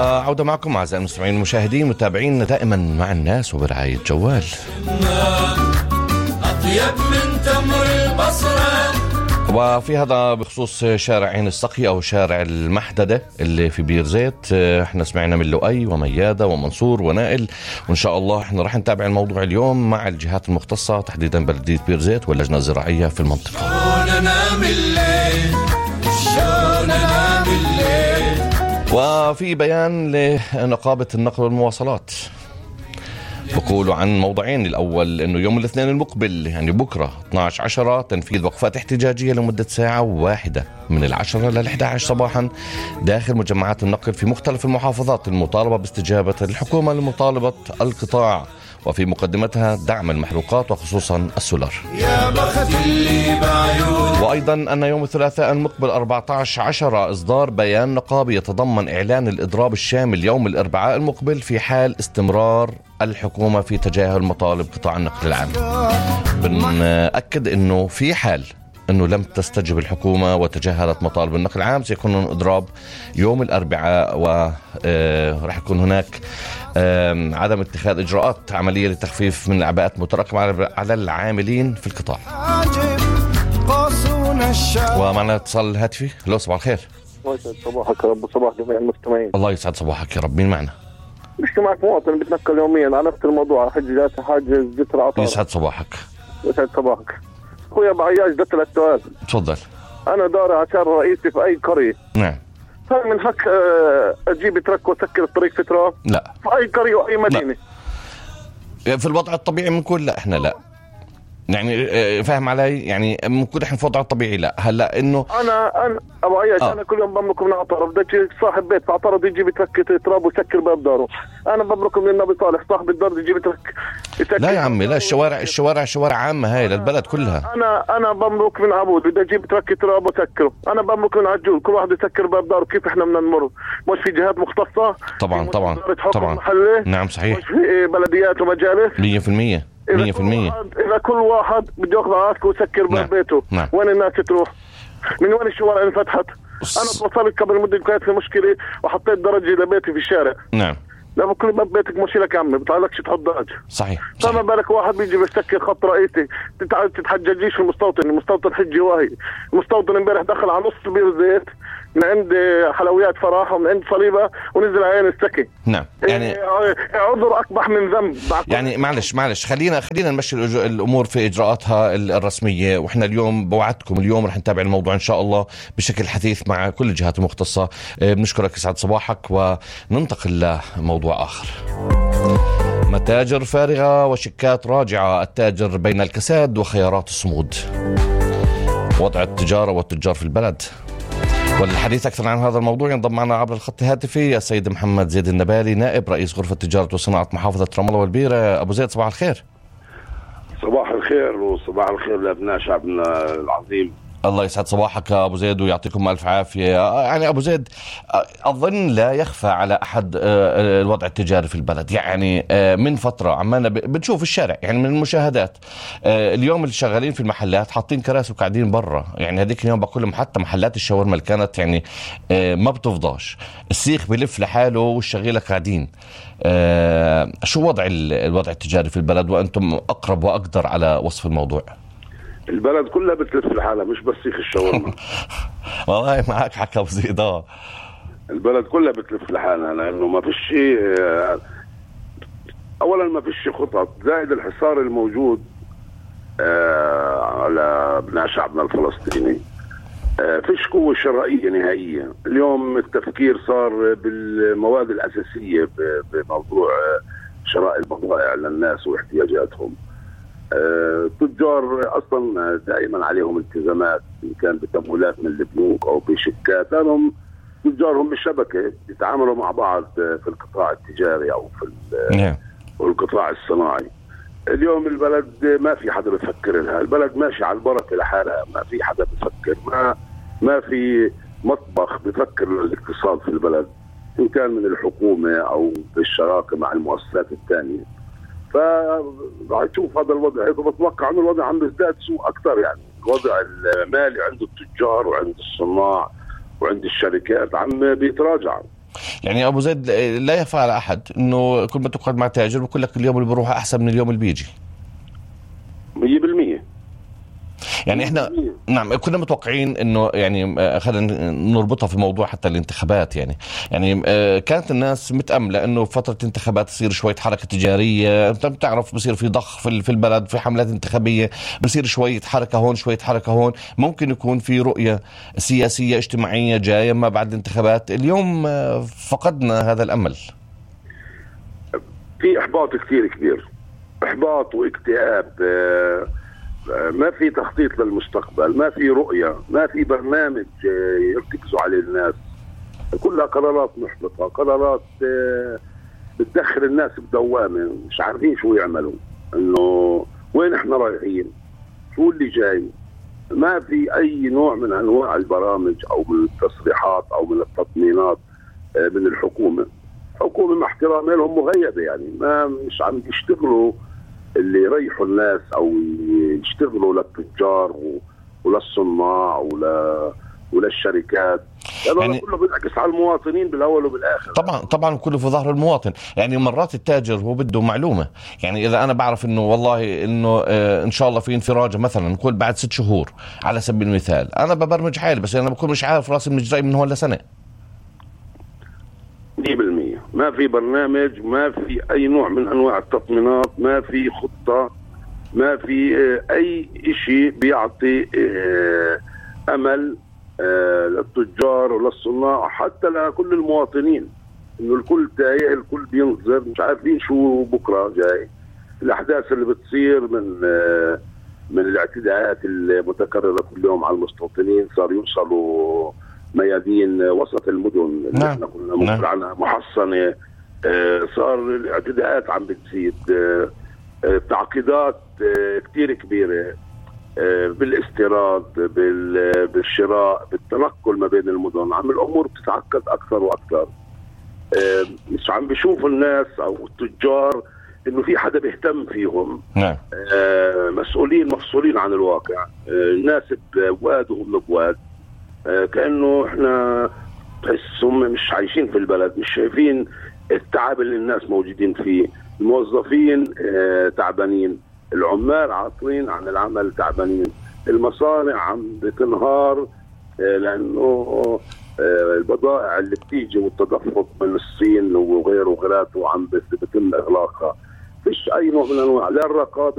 وعودة معكم أعزائي المستمعين المشاهدين متابعين دائما مع الناس وبرعاية جوال. أطيب من تمر البصرة. وفي هذا بخصوص شارع عين السقي أو شارع المحددة اللي في بير زيت، احنا سمعنا من لؤي وميادة ومنصور ونائل، وإن شاء الله احنا راح نتابع الموضوع اليوم مع الجهات المختصة تحديدا بلدية بير زيت واللجنة الزراعية في المنطقة. وفي بيان لنقابة النقل والمواصلات بقولوا عن موضوعين. الأول أنه يوم الاثنين المقبل يعني بكرة 12/10 تنفيذ وقفات احتجاجية لمدة ساعة واحدة من 10 إلى 11 صباحا داخل مجمعات النقل في مختلف المحافظات، المطالبة باستجابة الحكومة لمطالبة القطاع وفي مقدمتها دعم المحروقات وخصوصا السولار. وأيضا أن يوم الثلاثاء المقبل 14/10 إصدار بيان نقابي يتضمن إعلان الإضراب الشامل يوم الأربعاء المقبل في حال استمرار الحكومة في تجاهل مطالب قطاع النقل العام. بنأكد أنه في حال أنه لم تستجب الحكومة وتجاهلت مطالب النقل العام سيكون إضراب يوم الأربعاء، ورح يكون هناك عدم اتخاذ إجراءات عملية لتخفيف من الأعباءات المتراكمة على العاملين في القطاع. ومعنا اتصال هاتفي. لو صباح الخير. الله يسعد صباحك يا رب، صباح جميع المستمعين. الله يسعد صباحك يا رب. مين معنا؟ بحكي معك مواطن بتنقل يوميا على نفس الموضوع، حاجز جسر عطار. يسعد صباحك. يسعد صباحك اخويا بعياش. ده 3 سؤال. تفضل. انا داري عشان رئيسي في اي قرية. نعم. هل من حق اجيب ترك واسكر الطريق فترة؟ لا. في اي قرية واي مدينة؟ لا. في الوضع الطبيعي بنقول لا، احنا لا يعني فاهم علي، يعني ممكن احنا في وضع الطبيعي لا. هلا انه انا ابو عياش انا كل يوم بملك من عطارة، بدي صاحب بيت في عطارة يجيب يترك تراب ويسكر باب داره. انا بملك من النبي صالح صاحب الدار يجيب يترك يسكر. لا يا عمي لا، الشوارع شوارع عامة هاي للبلد كلها. انا بملك من عبود بدي اجيب ترك تراب وسكره. انا بملك من عجول كل واحد يسكر باب داره. كيف احنا بدنا نمر؟ مش في جهات مختصة؟ طبعا نعم صحيح. مش في بلديات ومجالس 100%. إذا كل واحد بده ياخذ عاسكه ويسكر باب بيته. نعم. وين الناس تروح؟ من وين الشوارع انفتحت؟ أنا توصلت قبل مدة كانت في مشكلة وحطيت درجة لبيتي في الشارع. نعم. لما كل باب بيتك مشي لك عمي بتعلقش تحط درج. صحيح. فما بالك واحد بيجي بيسكر خط رئيسي. تتحججيش في المستوطن حجي واهي. المستوطن امبارح دخل على نص بير زيت من عند حلويات فراحة ومن عند صليبة ونزل عين السكي. نعم. يعني عذر أقبح من ذنب. يعني معلش خلينا نمشي الأمور في إجراءاتها الرسمية، وإحنا اليوم بوعدكم اليوم رح نتابع الموضوع إن شاء الله بشكل حثيث مع كل الجهات المختصة. بنشكرك يسعد صباحك وننتقل لموضوع آخر. متاجر فارغة وشيكات راجعة، التاجر بين الكساد وخيارات الصمود، وضع التجارة والتجار في البلد. والحديث أكثر عن هذا الموضوع ينضم معنا عبر الخط الهاتفي السيد محمد زيد النبالي، نائب رئيس غرفة تجارة وصناعة محافظة رام الله والبيرة. أبو زيد صباح الخير. صباح الخير وصباح الخير لأبناء شعبنا العظيم. الله يسعد صباحك أبو زيد ويعطيكم ألف عافية. يعني أبو زيد أظن لا يخفى على أحد الوضع التجاري في البلد. يعني من فترة عمالنا بنشوف الشارع يعني من المشاهدات اليوم اللي شغالين في المحلات حاطين كراسي وقاعدين برا. يعني هذيك اليوم بقول لهم حتى محلات الشاورما اللي كانت يعني ما بتفضاش، السيخ بيلف لحاله والشغيلة قاعدين. شو وضع الوضع التجاري في البلد وأنتم أقرب وأقدر على وصف الموضوع؟ البلد كلها بتلف لحالها مش بس سيخ الشاورما. والله معك حكى أبو زيد. البلد كلها بتلف لحالها لأنه ما فيش شيء. أولا ما فيش خطط، زائد الحصار الموجود على ابناء شعبنا الفلسطيني. فيش قوة شرائية نهائية. اليوم التفكير صار بالمواد الأساسية بموضوع شراء البضائع للناس واحتياجاتهم. التجار أصلا دائما عليهم التزامات إن كان بتمويلات من البنوك أو بشيكات، لأنهم تجارهم بالشبكة يتعاملوا مع بعض في القطاع التجاري أو في القطاع الصناعي. اليوم البلد ما في حدا بفكر لها، البلد ماشي على البركة لحالها، ما في حدا بفكر، ما في مطبخ بفكر للاقتصاد في البلد إن كان من الحكومة أو بالشراكة مع المؤسسات الثانية. فراح تشوف هذا الوضع، بتوقع أن الوضع عم يزداد سوء أكثر. يعني الوضع المالي عند التجار وعند الصناع وعند الشركات عم بيتراجع. يعني ابو زيد لا يخفى على احد انه كل ما تقعد مع تاجر بقول لك اليوم اللي بروح احسن من اليوم اللي بيجي 100%. يعني احنا نعم كنا متوقعين انه يعني خلينا نربطها في موضوع حتى الانتخابات. يعني كانت الناس متأملة انه فترة انتخابات تصير شوية حركة تجارية، انت بتعرف بصير في ضخ في البلد، في حملات انتخابية بصير شوية حركة هون شوية حركة هون، ممكن يكون في رؤية سياسية اجتماعية جاية ما بعد الانتخابات. اليوم فقدنا هذا الامل، في احباط كثير كبير، احباط واكتئاب، ما في تخطيط للمستقبل، ما في رؤية، ما في برنامج يرتكزوا عليه الناس، كلها قرارات محبطة، قرارات بتدخل الناس بدوامة، مش عارفين شو يعملوا، انه وين احنا رايحين، شو اللي جاي. ما في اي نوع من انواع البرامج او من التصريحات او من التطمينات من الحكومة. حكومة مع احترامي لهم مغيبة، يعني ما مش عم يشتغلوا اللي يريحوا الناس او يشتغلوا للتجار وللصناع وللشركات، يعني كله بينعكس على المواطنين بالاول وبالاخر. طبعا كله في ظهر المواطن. يعني مرات التاجر هو بده معلومه، يعني اذا انا بعرف انه والله انه ان شاء الله في انفراجه مثلا نقول بعد 6 شهور على سبيل المثال، انا ببرمج حالي، بس انا بكون مش عارف راسي من جاي من هون لسنه. 100% ما في برنامج، ما في اي نوع من انواع التطمينات، ما في خطه، ما في اي شيء بيعطي امل للتجار وللصناع، حتى لكل المواطنين، انه الكل تايه، الكل بينظر، مش عارفين شو بكره جاي. الاحداث اللي بتصير من الاعتداءات المتكرره كل يوم على المستوطنين، صار يوصلوا ميادين وسط المدن اللي احنا كنا مصر عنها محصنه، صار الاعتداءات عم بتزيد، تعقيدات كتير كبيره بالاستيراد، بالشراء، بالتنقل ما بين المدن، عم الامور بتتعقد اكثر واكثر. مش عم بيشوفوا الناس او التجار انه في حدا بيهتم فيهم. مسؤولين مفصولين عن الواقع، الناس بواد وهم بواد، كأنه احنا تحسهم مش عايشين في البلد، مش شايفين التعب اللي الناس موجودين فيه. الموظفين تعبانين، العمال عاطلين عن العمل تعبانين، المصانع عم بتنهار لأنه البضائع اللي بتيجي والتدفق من الصين وغيره وغيراته عم بيتم إغلاقها. فيش أي نوع من أنواع لا الرقابة